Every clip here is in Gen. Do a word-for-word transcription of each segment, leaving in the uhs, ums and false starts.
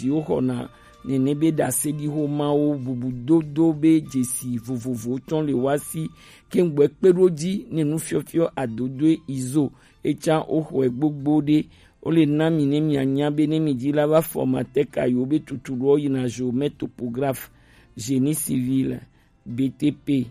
Ɖiwo xɔna nene be ɖase ɖi xo mawo bubu dodo be dzesi vovovowo tsɔ le wa si kengbe kpe ɖo dzi ne nufiɔfiɔ adodoe izo etsa wo xɔe gbogbo ɖe. Wo le na mi ne mianya be ne mi dzi la va formateur kayiwo be tutu ɖo yina géomètre, topographe, génie civil, B T P,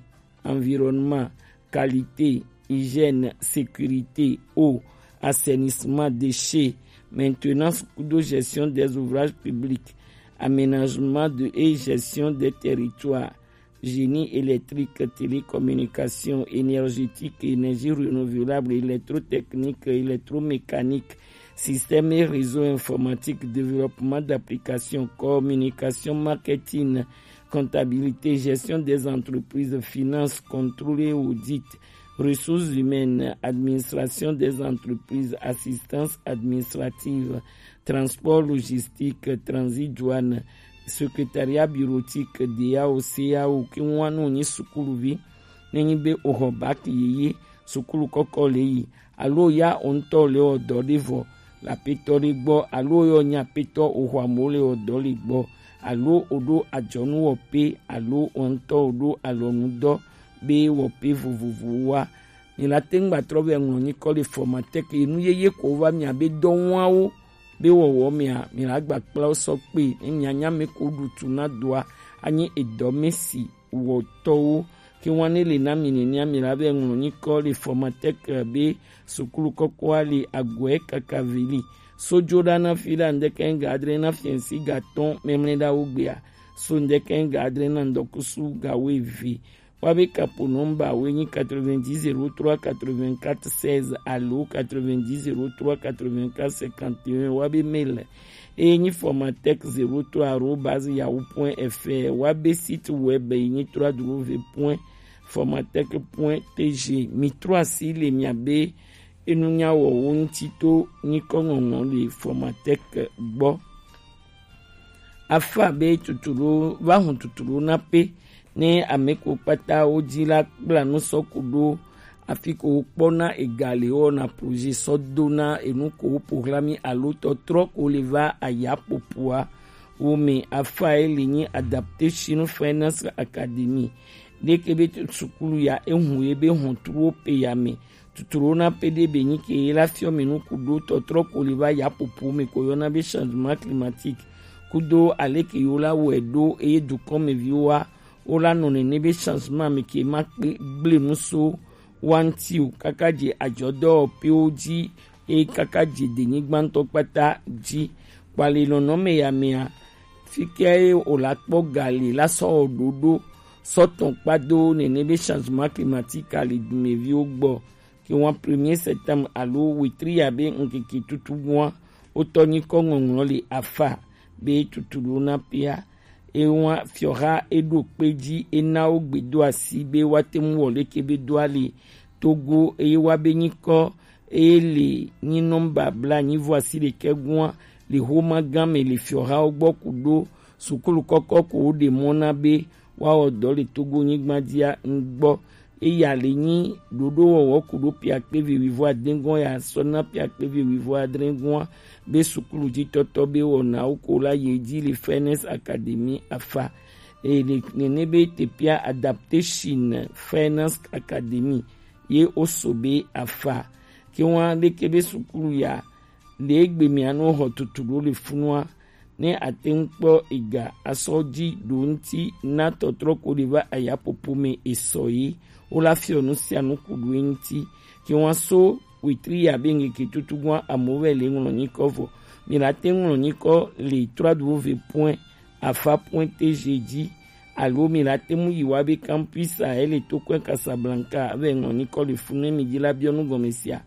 environnement, qualité, hygiène, sécurité, eau, assainissement, déchets, maintenance kudo gestion des ouvrages publics, aménagement de et gestion des territoires, génie électrique, télécommunication, énergétique, énergie renouvelable, électrotechnique, électromécanique, système et réseau informatique, développement d'applications, communication, marketing, comptabilité, gestion des entreprises, finances, contrôle et audit, ressources humaines, administration des entreprises, assistance administrative, transport logistique, transit douane, secrétariat bureautique, D A O, C A O, ke ŋua no nyi sukuluvi, ne nyi be o xɔ bac yeye, sukulu kɔkɔ le yi, alo ya o ŋutɔ le wɔ dɔ ɖe vɔ le apetɔ ɖe gbɔ, alo yɔ nyi apetɔ o xɔ amewo le wɔ dɔ le gbɔ, alo o ɖo adzɔnu wɔ pe, alo o ŋutɔ o ɖo alɔnu dɔ be wɔ pe vovovowo wa. Mi la te ŋu gba trɔ vɛ ŋlɔ nyikɔ le formateur ke nu yeye ko va mia be dɔ wawo be wɔwɔ mia, mi la gba kpla wo sɔ kpe, ne mia nya me ko ɖu tu na doa, anyi edɔ me si wɔtɔwo. Ke wan ne le na mi nenea, mi la vɛ ŋlɔ nyikɔ le formateur ke be sukulu kɔkɔa le agɔe kaka veli. So jo ɖa na fi ɖa ŋdɛkɛ ga adre na fiɛnsi ga tɔn mɛmlɛ ɖa wo gbea. So ŋdɛkɛ ga adre na ŋdɔkusu ga wo eve. Wa be kapo nɔmba wo nyi quatre-vingt-dix zéro trois quatre-vingt-quatre seize alo quatre-vingt-dix zéro trois quatre-vingt-quatre cinquante et un, wa be mail e nyi formatech zéro trois arobase yahoo point F R, wa be site web e nyi trois W point formatech point T G. Mi trɔ asi le mia be enunya wɔwo ŋuti to nyikɔ ŋɔŋlɔ le formatech gbɔ. Afa be tuturo va hɔn tuturo na pe ne ame ko kpata wo dzi la kpla nu sɔ ku ɖo afi ko wo kpɔna ega le wɔna projet sɔ dona enu ko wo programme alo tɔtrɔ ko le va aya popoa wo me. Afa ye le nyi Adaptation Finance Academy. Ɖeke be sukulu ya ehu ye be hɔn tuwo pe ya me. Tuturo na pe ɖe be nyi ke ye la fiɔ mi nu ku ɖo tɔtrɔ ko le va ya popo me ko yɔna be changement climatique kudo ale ke yo la wɔe ɖo eye dukɔmeviwo wa wo la nɔ nene be changement me ke ma kpe gble nu so wa ŋuti o, kaka dze adzɔdɔwɔƒewo dzi eye kaka dze denyigba ŋutɔ kpata dzi. Kpali nɔnɔme ya mea, fi ke ye wòle akpɔ gali la sɔ wɔ ɖoɖo sɔ tɔn kpado nene be changement climatique ali dumeviwo gbɔ. Ke wan premier septembre alo wetri ya be ŋkeke tutu gua wotɔ nyikɔ ŋɔŋlɔ le afa be tutu ɖo na pia. Ewa fiɔha eɖo kpe dzi ena wo gbedo asi be woate ŋu wɔ leke be do ali Togo eye wa be nyikɔ eye le nyi nɔmba bla nyi vɔ asi ɖekɛ gua le xoma gã me le fiɔhawo gbɔ ku ɖo sukulu kɔkɔ ko wo ɖe mɔ na be woawɔ dɔ le Togo nyigba dzia ŋgbɔ. Eya le nyi ɖoɖo wɔwɔ ku ɖo pia kpe ve wivɔ adengɔn ya sɔ na pia kpe ve wivɔ adrengɔn be sukulu dzi tɔtɔ be wɔnawo ko la ye dzi le Finance Academy afa. Eye ne, nene be tepia Adaptation Finance Academy ye oso be afa. Ke wan ɖeke be sukulu ya le egbe mia no xɔ tutu ɖo le funua ne ate ŋu kpɔ ega asɔ dzi ɖo ŋuti na tɔtrɔ ko ɖe va ayapopo me esɔ ye. Wo la fiɔ nu sia nu ku ɖo ŋuti. Ke wan so wetri ya be ŋkeke tutu gua amewo vɛ le ŋlɔ nyikɔ vɔ. Mi la te ŋlɔ nyikɔ le trois W point afa point T G dzi alo mi la te ŋu yi wa be campus a ele to kɔe Casablanca vɛ ŋlɔ nyikɔ le funu mi dzi la biɔ nu gɔme sia.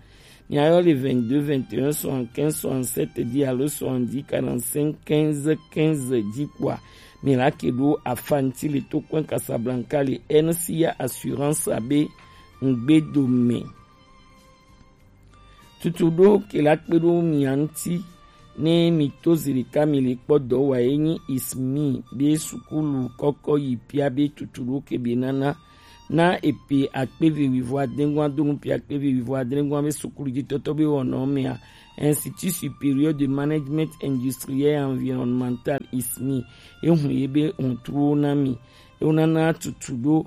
Miayɔ le vingt-deux vingt et un soixante-quinze soixante-sept dix alo soixante-dix quarante-cinq quinze quinze dzi kpoa mi la ke ɖo afa ŋuti le to kɔe Casablanca le N C A Assurance abe ŋgbedo me. Tutu ɖo ke la kpe ɖo mia ŋuti ne mi to zi ɖeka mi le kpɔ dɔ wa ye nyi ismi be sukulu kɔkɔ yi pia be tutu ɖo ke be nana na epe akpe ve wivɔ adengua do nu pe akpe ve wivɔ adengua be sukulu dzi tɔtɔ be wɔnɔ mea, Institut Supérieur de Management Industriel et Environnemental, ismi, e hun ye be huntruwo na mi. E wo nana tutu ɖo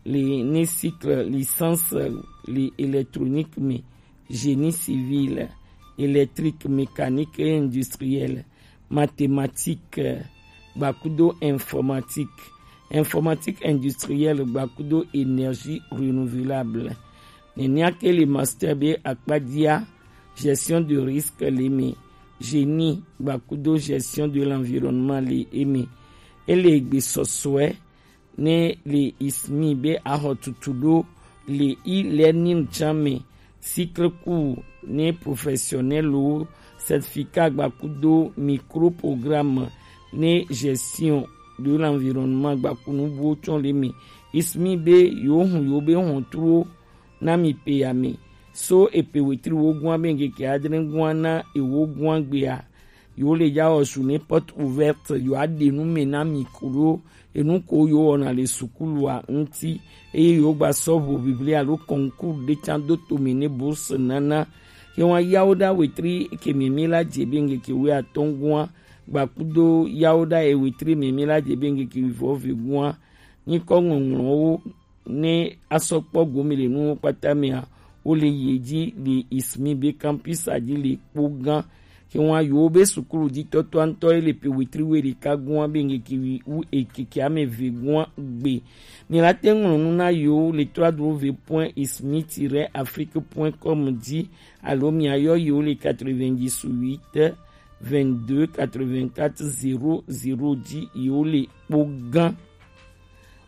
le ne cycle licence le électronique me, génie civil, électrique, mécanique et industriel, mathématique, gbakudo informatique, informatique industrielle, gbakudo énergie renouvelable. Nenia ke le master be akpadia, gestion de risque le me, génie, gbakudo gestion de l'environnement le eme. Ele egbe sɔsɔɛ ne le ismi be axɔ tutu ɖo le e-learning can me, cycle court ne professionnel wo, certificat gbakudo microprogramme ne gestion de l'environnement gbakunu buwo tsɔn le me. Ismi be yo hun yo be huntruwo na mi pe ya me. So epe wetri wo gua be ngeke adre gua na ewo gua gbea, yo le ja wɔ su ne porte ouverte, yo aɖe nu me na mi kuɖo enu ko yo wɔna le sukulua ŋuti, eye yo gba sɔ ʋu biblia alo concours ɖe can do to me ne bourse nana. Ke wa yawo ɖa wetri ke mi mi la dze be ngeke wi atɔn gua, gbakudo yawo ɖa e wetri mi mi la dze be ngeke wi vɔ ve gua. Nyikɔ ŋɔŋlɔwo ne asɔ kpɔ gome le nuwo kpata mea, wo le yi edzi le ismi be campus a dzi le kpo gã. Ke wa yo be sukulu dzi tɔtɔ ŋutɔ ye le pe wetri we ɖeka gua be ngeke wi wu ekeke ame ve gua gbe. Mi la te ŋlɔ nu na yo le trois w point ismi tiret afrique point com dzi, alo mi ayɔ yo le quatre-vingt-dix-huit, vingt-deux, quatre-vingt-quatre, zéro zéro dzi yo le kpo gã.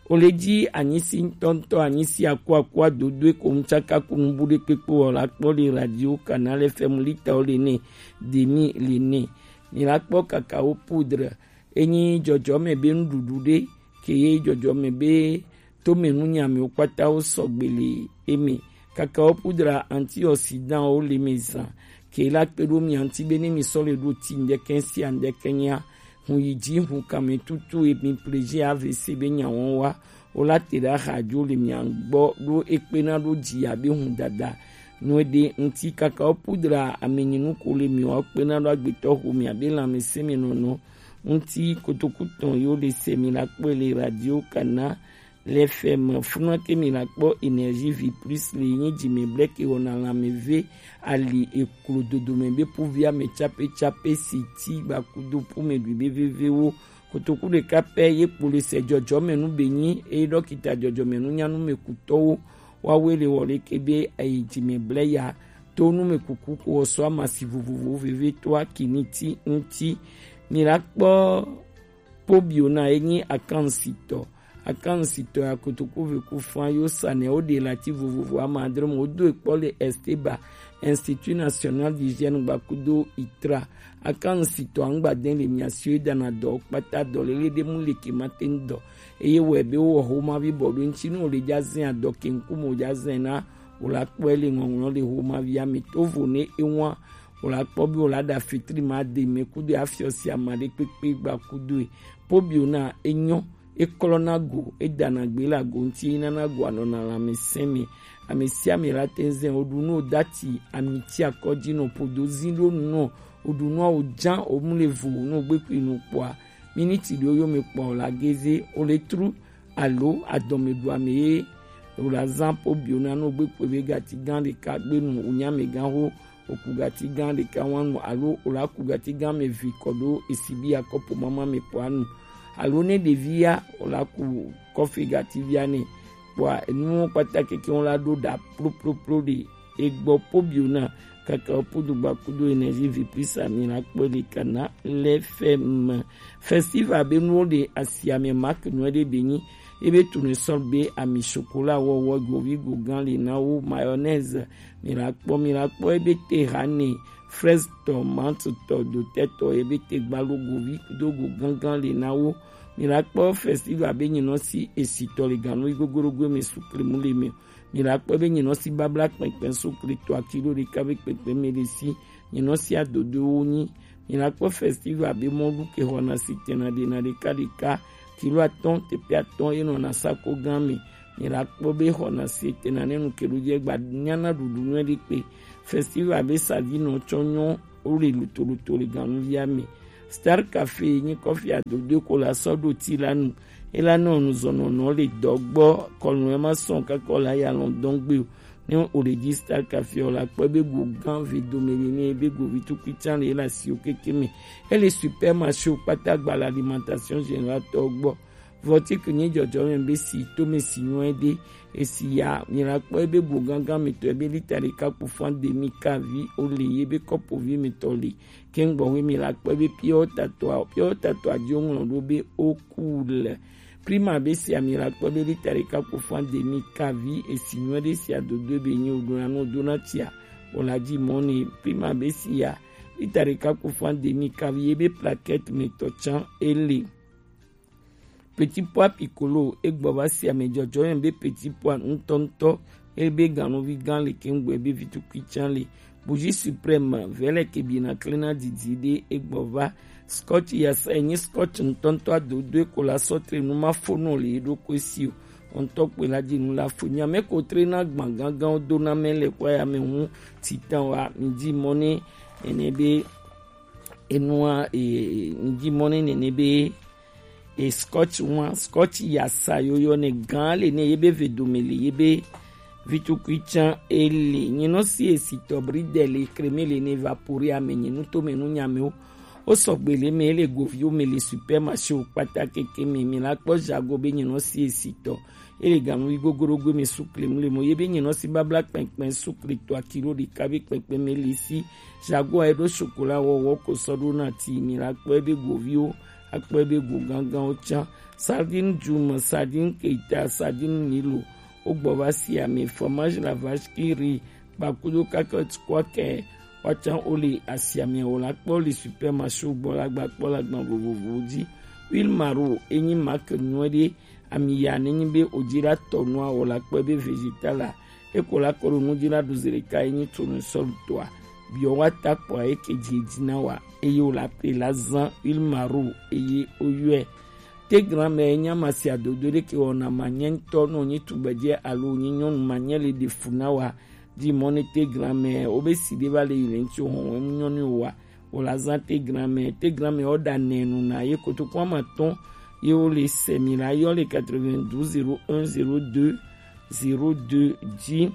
O le dzi anyisi ŋutɔŋutɔ, anyisi akuaku adodoe ko ŋtsaka ku nubu ɖe kpekpe wɔ la kpɔ le radio Canal F M lita o le ne demi le ne. Mi la kpɔ cacao poudre, enyi dzɔdzɔme be nuɖuɖu ɖe ke ye dzɔdzɔme be tome nunyamiwo kpata wo sɔgbe le eme. Cacao poudre antioxydant wo le me zan ke la kpe ɖo mi ŋuti be ne mi sɔ le ɖo ti ŋdɛkɛ sia ŋdɛkɛ nya, hun yi dzi hun kame tutu e mi pleji A V C be nya wɔn wa, wo la te ɖe axa dzo le mia gbɔ ɖo ekpena ɖo dzi abe hun dada. Nu eɖe ŋuti cacao poudre amenyinu ko le mi wa kpena ɖo agbetɔ ho mi abe lãmesẽ me nɔnɔ ŋuti. Kotoku tɔn yo le se mi la kpɔe le radio Kana le F M. Funa ke mi la kpɔ Énergie Vie Plus le nyi dzi me blɛ ke wɔna lãmeve ali eklo dodo me be puvi ame tsape tsape si ti gbakudo pu me ɖui be vevewo. Kotoku ɖeka pɛ ye kpo le se dzɔdzɔmenu be nyi eye ɖɔkita dzɔdzɔmenu nyanu me kutɔwo wawe le wɔ le ke be ayi dzi me blɛ ya to nu me kuku ko wɔ sɔ amasi vovovowo veve to akini ti ŋuti. Mi la kpɔ Pobio na ye nyi akansitɔ. Akansitɔ ya kotoku ve ku fã yo sa nɛ wo ɖe lati vovovo ama adre mo wo do ekpɔ le Esteba, Institut National d'Hygiène gbakudo itra. Akansitɔ angba den le mia si wo dana dɔ kpata dɔ lele ɖe mu le ke ma te ŋu dɔ. Eye wɔ be wo wɔ homa vi bɔ ɖo ŋuti nu wo le dza zɛn adɔ ke ŋku mo dza zɛn na wo la kpɔe le ŋɔŋlɔ le homa via me to vo ne ewa wo la kpɔ be wo la ɖa fitri ma de me kudo afiɔ si ama ɖe kpekpe gbakudo e. Pobio na enyɔ, eklɔna go, edana gbe le ago ŋuti, enana go anɔna lãmesẽ me. Ame sia ame la te ŋu zɛn wo ɖu nu wo dati ami ti akɔ dzi nɔ podo zi ɖo nu nɔ wo ɖu nua wo dza wo mu le vo nɔ wo gbe kui nu kpɔa miniti ɖewo yo me kpɔa wo la geze wo le tru alo adɔmeɖuame ye wo la zã Pobio na nɔ wo gbe kpe be gati gã ɖeka gbenu wo nya me gã ho oku gati gã ɖeka wanu alo o la ku gati gã me vi kɔ ɖo esi bi akɔpo mama me kpɔa nu alo ne ɖevi ya o la ku kɔfe gati via nɛ kpɔa enuwo kpata keke wo la ɖo ɖa ploploplo ɖe egbɔ Pobio na kaka wo podo gba kudo Énergie Vie Plus ami la kpɔ ɖe kana le F M. Festival be nuwo ɖe asia me marque nuwo ɖe be nyi ebe tournesol be ami chocolat wɔwɔ govi go gã le na wo mayonnaise mi la kpɔ mi la kpɔ ebe te hane fraise tɔ menthe tɔ dotɛ tɔ ebe te gbalo govi do go gángan le na wo. Mi la kpɔ festival be nyinɔ si esitɔ le ganu yi gogorogo me sukle mu le me. Mi la kpɔ be nyinɔ si babla kpɛnkpɛn sukle tɔ akilo ɖeka be kpɛnkpɛn me le si nyinɔ si adodo wo nyi. Mi la kpɔ festival be mɔlu ke xɔna si tɛna ɖena ɖeka ɖeka kilo atɔn tepe atɔn enɔna sako gã me. Mi la kpɔ be xɔna si tɛna ne nu ke ɖo dze gba nyana ɖuɖu nyuie ɖe kpe. Festival be savi nɔ tsɔ nyɔ o le lotoloto le ganuvi ame. Star Café nyi kɔfi adodo ko la sɔ ɖo ti la nu. E la nɔ nuzɔnɔnɔ le dɔ gbɔ kɔnu e ma sɔn kakɔ la ya lɔn dɔn gbe o. Ne o le di Star Café o la kpɔ be go gan ve dome le ne be go vi tukui can le la si o keke me. E le supermarché o kpata gba l'alimentation générale tɔ gbɔ. Vɔtike nyi jɔjɔ me be si to me si nyuɛ de. Esi ya mi la kpɔ ebe bo gangan mi tɔ ebe lita ɖeka kpo fan demi kavi o le ye be kɔpo vi mi tɔ le. Kengbo we mi la kpɔ ebe pure water tɔ a, pure water tɔ a di o ŋlɔ ɖo be o ku le. Prima be si ya mi la kpɔ ebe lita ɖeka kpo fan demi kavi esi nyuɛ de si a dodo ebe nyi o ɖona nu o dona tia. O la di mɔ ne prima be si ya lita ɖeka kpo fan demi kavi ye be plaquette mi tɔ can e le. Petit pois piccolo egbɔ va si ame jɔjɔ yɛn be petit pois ŋutɔŋutɔ ebe ganuvi gan le kengbe be vitukui can le. Bougie suprême vɛlɛ ke bina klena didi de egbɔ va. Scotch yasa enyi scotch ŋutɔŋutɔ adodo eko la sɔtre nu ma fo nɔ le eɖokui si o. Ŋutɔ kpe la di nu la fo nyame ko tre na gban gangan do na mɛ le kɔ ya me ŋu titan wa mi di mɔ ne ene be enua e mi di mɔ ne nene be e scotch wan scotch yasa yoyo ne gan le ne ye be ve dome le ye be vitukui can e le nyinɔ si e si tɔ bri de le kreme le ne evapore ame nyinu to me nu nyame o. O sɔgbe le me e le govi o me le supermarché o kpata keke me mi la kpɔ jago be nyinɔ si e si tɔ. Ele gamu yi gogoro gwe me sukle mu le mo ye be nyinɔ si babla kpɛnkpɛn sukle to akilo ɖeka be kpɛnkpɛn me le si. Jago a eɖo chocolat wɔwɔ ko sɔ ɖo na ti mi la kpɔ ebe goviwo akpɔ ebe go ganganwo can. Sardine djum, sardine keita, sardine nilo. Wo gbɔ va si ame fromage la vache qui rit kpakudo kakɔt kɔkɛ. Wa can wo le asiame wo la kpɔ le supermarché gbɔ la gba kpɔ la gban vovovowo dzi. Huile maro enyi marque nyuie ɖe. Ami ya ne nyi be o dzi la tɔ nua o la kpɔe be vegetal la eko la kɔ ɖo nu dzi la ɖu zi ɖeka ye nyi tsonu sɔlu tɔa. Biɔ wa ta kpɔa eke dzi dzi na wa eye o la pe la zan huile maro eye o yɔe. Te gran mɛ nya ma si adodo ɖe ke wɔna ma nyɛ ŋutɔ nɔ nyi tugbedze alo nyi nyɔnu ma nyɛ le ɖe fu na wa. Di mɔ ne te gran mɛ o be si ɖe va le yi le ŋutsi o hɔn wɛ mu nyɔnu wa. Wo la zã Tegram mɛ. Tegram mɛ wo ɖa nɛ nu na ye kotoku ama tɔn ye wo le sɛ mi la yɔ le quatre-vingt-douze zéro un zéro deux zéro deux dzi.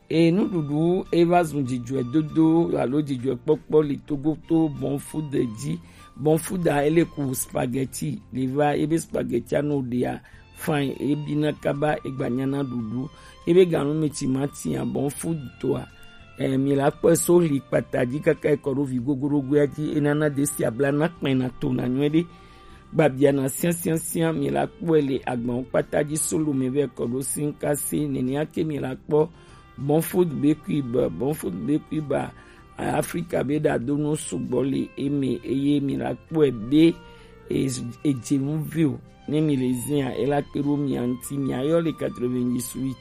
E nuɖuɖu e va zun dzidzɔe dodo alo dzidzɔe kpɔkpɔ le Togo to Bon Food dzi. Bon Food a ele ku spaghetti le va ebe spaghetti a no ɖea fine ebi na kaba egba nyana ɖuɖu ebe ganu mi ti ma tia Bon Food toa. Eh, mi la kpɔe so li kpata dzi kaka ekɔ ɖo vi gogorogoea dzi enana desi abla na kpɛna to na nyuie ɖe. Gbabia na siasiasia mi la kpɔe le agbawo kpata dzi solo me vɛ kɔ ɖo sinkase nenia ke mi la kpɔ Bon Food be kui be Bon Food be kui ba Afrika be ɖa do nu sugbɔ le eme eye mi la kpɔe be edze nu vi o. Ne mi le zia ela kpe ɖo mia ŋuti mia yɔ le quatre-vingt-dix-huit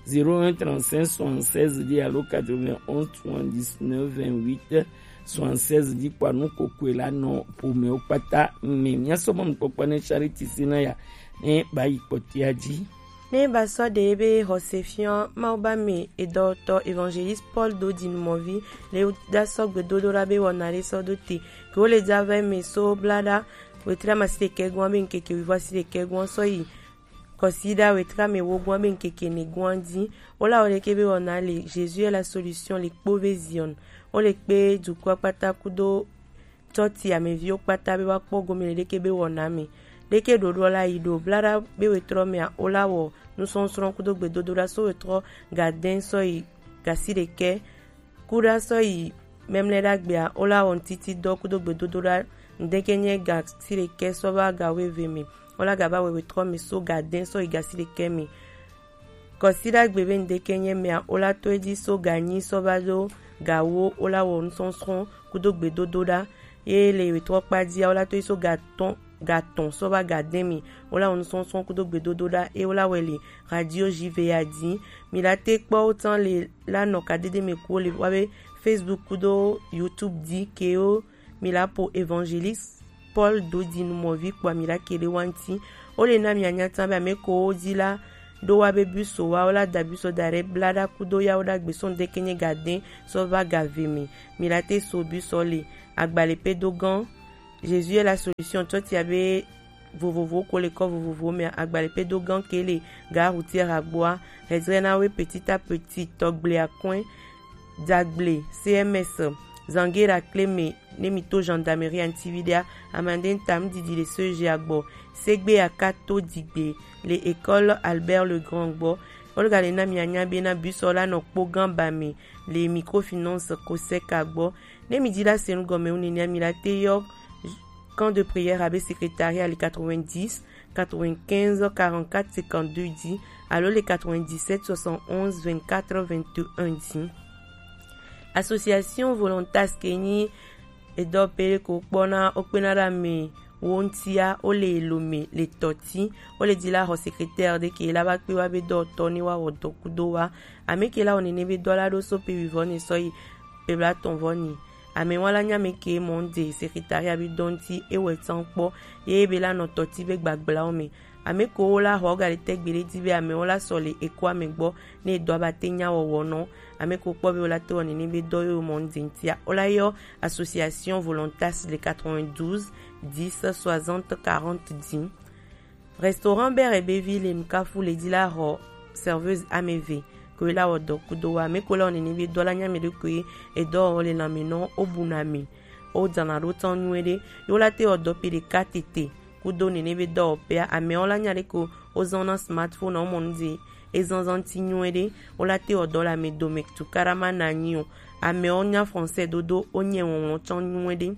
zéro un trente-cinq soixante-seize dzi alo quatre-vingt-onze soixante-dix-neuf vingt-huit soixante-seize dzi kpɔa nu kokoe la nɔ ƒomewo kpata me. Mia sɔ mɔnukpɔkpɔ ne Charity Sinaya ne ba yi kpɔtia dzi. Ne ba sɔ ɖe ebe xɔse fiɔ Mawu ba me edɔtɔ Evangeliste Paul do dzi numɔvi le da sɔ gbedodo la be wɔna le sɔ do te ke wo le dza vɛ me so bla ɖa wetri ama si ɖekɛ gɔn be ŋkeke wivɔ si ɖekɛ gɔn sɔ yi kɔsiɖa wetri ame wo gɔn be ŋkeke ne gɔn dzi. Wo la wo ɖeke be wɔna le Jésus est la solution le kpo be Zion. Wo le kpe dukɔ kpata kudo tɔti ameviwo kpata be wa kpɔ gome le ɖeke be wɔna me. Ɖeke ɖoɖo la yi ɖo bla ɖa be wetrɔ mea wo la wɔ nusɔsrɔ̃ kudo gbedodo ɖa so wetrɔ gadɛn sɔ yi gasi ɖekɛ Kuɖa sɔ yi mɛmlɛ ɖagbea wo la wɔ ŋtiti dɔ kudo gbedodo ɖa ŋdeke nyɛ ga si ɖekɛ sɔ va ga weve me wo la ga va wewe trɔ me so ga dɛn sɔ yi ga si ɖekɛ me. Kɔsi ɖagbe be ŋdeke nyɛ mɛa wo la to edzi so ga nyi sɔ va do ga wo wo la wɔ nusɔsrɔ̃ kudo gbedodo ɖa ye le wetrɔ kpa dzia wo la to edzi so ga tɔn ga tɔn sɔ va ga dɛn me wo la wɔ nusɔsrɔ̃ kudo gbedodo ɖa ye wo la wɛ le radio J V A dzi. Mi la te kpɔ wo tsan le la nɔ kadede me ku wo le wa be Facebook kudo YouTube dzi ke wo mi la po Evangeliste Paul Dodi numɔvi kpɔa mi la ke ɖe wa ŋti. Wo le na mi anya tsan be ame ko wo dzi la ɖo wa be bus wa wo la da bus da ɖe bla ɖa kudo yawo ɖagbe sɔn de kenye ga de sɔ va ga ve mi. Mi la te so bus le agbale pe do gan. Jésus est la solution tɔ tia be vovovo ko le kɔ vovovo mɛ agbale pe do gan ke le ga routière agboa. Hedzre na we petit à petit tɔgble akɔn dagble C M S zangera kle me ne mi to gendarmerie antividea amande tam didi le seje agbɔ segbe akato digbe le école Albert Legrand gbɔ. Olga le na mi anya be na bus la nɔ kpo gan ba me le microfinance koseka gbɔ. Ne mi di la senu gɔme wu nenia mi la te yɔ camp de prière abe secrétariat le quatre-vingt-dix quatre-vingt-quinze quarante-quatre cinquante-deux di alo le quatre-vingt-dix-sept soixante-onze vingt-quatre vingt-et-un di. Association Volontas ke nyi edɔ pe ko kpɔna okpena ɖa me wo ŋtia wo le lo me le tɔti wo le di la xɔ secrétaire de ke la ba kpe wa be dɔ tɔ ne wa wɔ dɔ kudo wa ame ke la wɔ nene be dɔ la ɖo so pe wi vɔ ne sɔ yi pe bla tɔn vɔ ni. Ame wa la nya me ke mɔ de secrétariat bi dɔ ŋti e wɛ tsan kpɔ ye be la nɔ tɔti be gbagbla wo me. Ame ko wo la xɔ ga le tɛgbe ɖe di be ame wo la sɔ le ekua me gbɔ ne edɔ aba te nya wɔwɔ nɔ. Ame ko kpɔ be wo la te wɔ nene be dɔ yo mɔ ŋdi ŋtia wo la yɔ association Volontas le quatre-vingt-douze dix soixante quarante di. Restaurant Bere be vi le Nukafu le di la xɔ serveuse ame ve ko la wɔ dɔ kudo wa ame ko la wɔ nene be dɔ la nya me ɖe ko edɔ wɔ le lame nɔ o bu na mi o dana ɖo tɔn nyuie ɖe yo la te wɔ dɔ pe ɖeka tete. Kudo nene be dɔwɔƒea, amewo la nya ɖe ko wozɔna smartphone wo mɔ nu dzi ezɔzɔ ŋuti nyuie ɖe. Wo la te wɔ dɔ le ame dome tukaɖa ma na anyi o. Amewo nya français dodo, wonye wɔwlɔ tsɔ nyuie ɖe.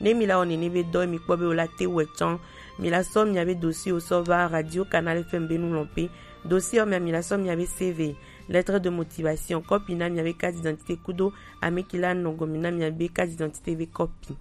Ne mi la wɔ nene be dɔ mi kpɔ be wo la te wɛ tsɔ, mi la sɔ mia be dossier wo sɔ va Radio Canal F M be nu lɔn pe. Dossier wo mia mi la sɔ mia be C V, lettre de motivation, kɔpi na mia be carte d'identité kudo ame ki la nɔ gɔmi na mia be carte d'identité be kɔpi.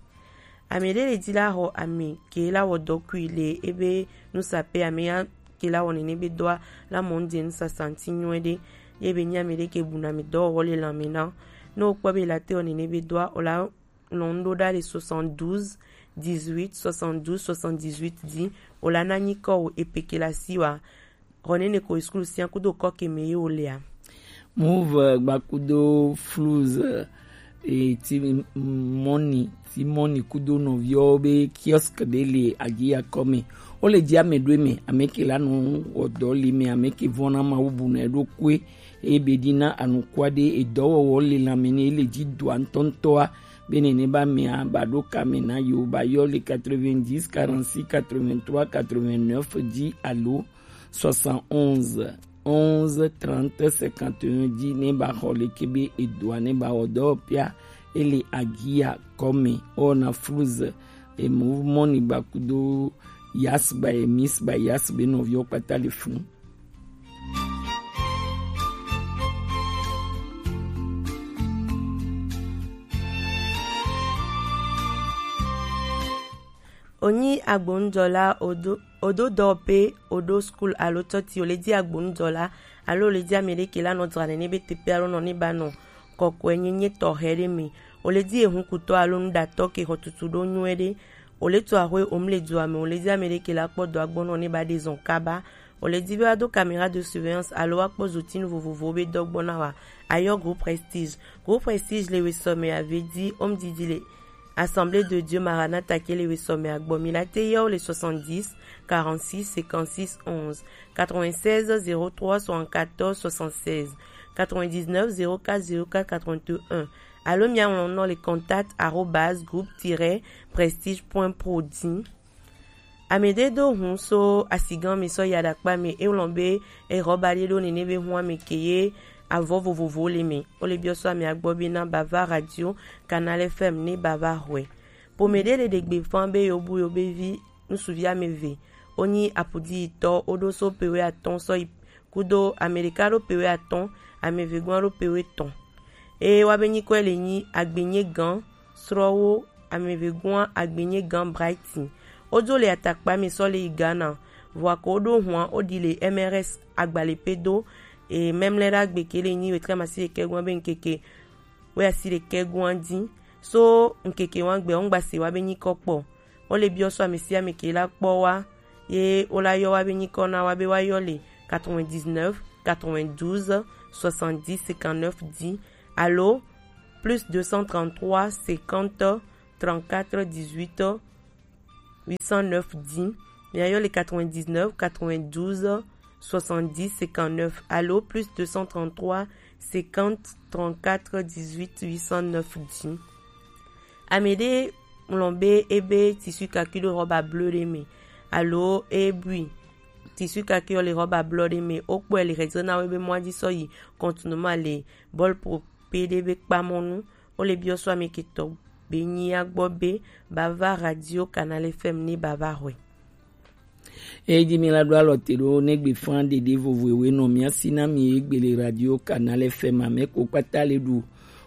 Ame ɖe le di la xɔ ame ke la wɔ dɔ kui le ebe nusaƒe ame ya ke la wɔ nene be dɔa la mɔ ŋde nusasa ŋuti nyuie ɖe ye be nyi ame ɖe ke bu na mi dɔwɔwɔ le lãme na. Ne wokpɔ be la te wɔ nene be dɔa o la lɔn ɖo ɖa le soixante-douze dix-huit soixante-douze soixante-dix-huit di o la na nyi kɔ wo epe ke la si wa. Xɔ nene ko school sia kudo kɔ ke me ye wo lea. Move gbakudo flus e ti mɔni ti mɔni kudo nɔviwo be kiosk ɖe le agiya kɔme. Wo le di ame ɖo me ame ke la nɔ wɔdɔ li me ame ke vɔna ma wo bu na ɖo kue e be di na anukua ɖe edɔwɔwɔ le lãme ne le di dɔa ŋutɔŋutɔa be nene ba mea ba ɖo kame na yo ba yɔ le quatre-vingt-dix quarante-six quatre-vingt-trois quatre-vingt-neuf di alo soixante-onze onze trente cinquante et un di ne ba xɔ le ke be edɔa ne ba wɔ dɔ pia ele agia kɔme o na flus e move mɔni ba kudo yas ba e mis ba yas be nɔviwo kpata le funu. Onyi agbonujɔla odo odo dɔ pe odo school alo tɔti o le di agbonujɔla alo o le di ame ɖe ke la nɔ dzra nene be teƒe alo nɔ ne ba nɔ kɔkɔe nyenye tɔxɛ ɖe me. O le di ehun kutɔ alo nuɖatɔ ke xɔ tutu ɖo nyuie ɖe. O le to axwe o mu le dua me o le di ame ɖe ke la kpɔ dɔ agbɔnɔ ne ba ɖe zɔn kaba. O le di be wa do caméra de surveillance alo wa kpɔ zotinu vovovowo be dɔ gbɔ na wa. Ayɔ groupe Prestige. Groupe Prestige le wesɔme ave di o mu didi le Assemblée de Dieu Maranatha ke le wesɔme agbɔ mi la te yɔ le soixante-dix quarante-six cinquante-six onze quatre-vingt-seize zéro trois soixante-quatorze soixante-seize quatre-vingt-dix-neuf zéro quatre zéro quatre quatre-vingt-un alo mia ŋlɔ nɔ le contact arobase groupe tiret prestige point pro di. Ame ɖe do hun so asigan mi sɔ yi aɖakpa me e ŋlɔ be exɔ ba ɖe ɖo nene be hun ame ke ye avɔ vovovowo le me. Wo le biɔ so ame agbɔ be na ba va radio Canal F M ne ba va xɔe. Pome ɖe le ɖe gbe fan be yo bu yo be vi nusuvi ame ve. Wo nyi apudi yitɔ wo ɖo so pe we atɔn sɔ yi kudo ame ɖeka ɖo pe we atɔn ame ve gɔn ɖo pe we tɔn. Eye wa be nyikɔe le nyi agbenye gan srɔwo ame ve gɔn agbenye gan Brighton. Wo do le atakpa mi sɔ le yi Ghana. Vɔa ko wo ɖo hua wo ɖi le M R S agbale pe do. E memle ɖa gbe ke le nyi wetre masi ɖekɛ gɔn be nkeke we asi ɖekɛ gɔn di. So nkeke wa gbe wo ŋgba se wa be nyikɔ kpɔ. Wo le biɔ so ame sia ame ke la kpɔ wa ye wo la yɔ wa be nyikɔ na wa be wa yɔ le quatre-vingt-dix-neuf quatre-vingt-douze soixante-dix cinquante-neuf dix, alo plus deux cent trente-trois cinquante trente-quatre dix-huit huit cent neuf dix. Miayɔ le quatre-vingt-dix-neuf quatre-vingt-douze soixante-dix cinquante-neuf, alo plus deux cent trente-trois cinquante trente-quatre dix-huit huit cent neuf dix. Ame ɖe ŋlɔ be ebe tissu kaki ɖo rɔba blo ɖe me, alo ebui tissu kaki le rɔba blo ɖe me, wokpɔe le hedzre na wo ebe mɔa dzi sɔ yi kɔntunuma le bɔl po pe ɖe be kpamɔnu. Wole biɔ sɔ ame ketɔ be nyia gbɔ be bava Radio Canal F M ne bava hɔe. Eyi mi la ɖo alɔ te ɖo ne gbe fan ɖeɖe vovo ewe nɔ mia si na mi egbe le Radio Canal F M ame ko kpata le ɖu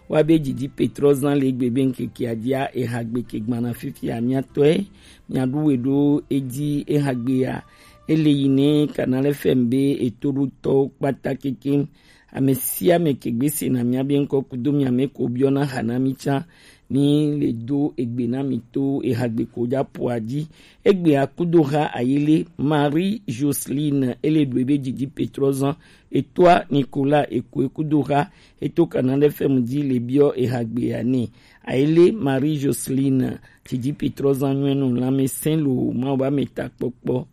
wa be didi petrɔ zan le gbe be ŋkeke adia eha gbe ke gbana fifi amia tɔe mia ɖu we ɖo edi eha gbe ya. Ele yi ne Canal F M be eto ɖo tɔ kpata keke ame sia ame ke gbe se na mia be ŋkɔ kudo mia me ko biɔ na ha na mi tsa ni le do egbe na mi to eha gbe ko ja po adi. Egbe akudo ha ayele Marie Joseline ele ɖu ebe didi petrɔ zan etoa Nicolas eko ekudo ha eto Canal F M di le biɔ eha gbe ya ne. Ayele Marie Joseline didi petrɔ zan nyuɛ no lame sɛn lo ma ba me ta kpɔkpɔ.